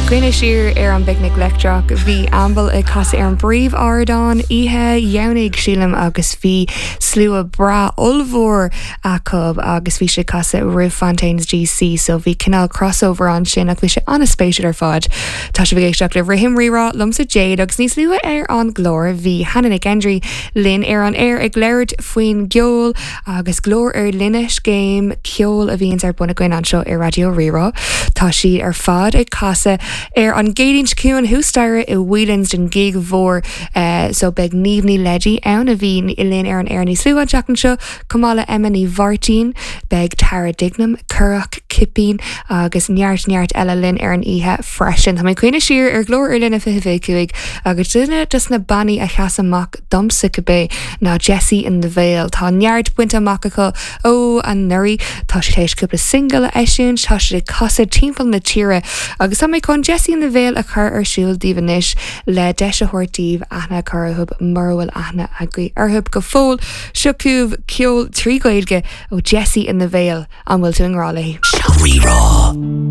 cuimhneamh siar ar an bPicnic Leictreach, bhí Amble ag casadh ar an bpríomh-ardán oíche Dhomhnaigh, sílim, agus bhí slua breá ollmhór acu agus bhí siad ag casadh roimh Fontaines DC so bhí cineál crossover ansin ach bhí sé an-spéisiúil ar fad. Tá sibh ag éisteacht le Rithim Rí-Rá liomsa Jade agus níos luaithe ar an gclár bhí Hannah Nic Einderí linn ar an aer ag labhairt faoin gceol agus Glór ar Line, scéim ceoil a bhíonns ar bun againn anseo ar Raidió Rí-Rá. Tá siad ar fad ag casadh ar an gCéadaoin seo chugainn thuas staighre i Whelan's don ghig mhór so beidh Niamh Ní Leidí ann a bhí linn ar an aer níos luaithe an tseachtain seo chomh maith le Emma Ní Mháirtín, beidh Tara Dignam, Currach, Cipín agus neart neart eile linn ar an oíche freisin. Tá mé ag cuimhneamh siar ar Ghlór ar Line 2025 agus duine dos na bannaí a sheas amach domsa cibé, ná Jessie and the Veil. Tá neart bainte amach acu ó anuraidh. Tá siad théis cúpla singil a eisiúint, tá siad ag casadh timpeall na tíre agus tá mé chun Jessie and the Veil a chur ar siúl daoibh anois le deis a thabhairt daoibh aithne a chur orthu mura bhfuil aithne agaibh orthu go fóill. Seo chugaibh ceol trí Ghaeilge ó Jessie and the Veil, an bhfuil tú i ngrá léi? Rí-rá.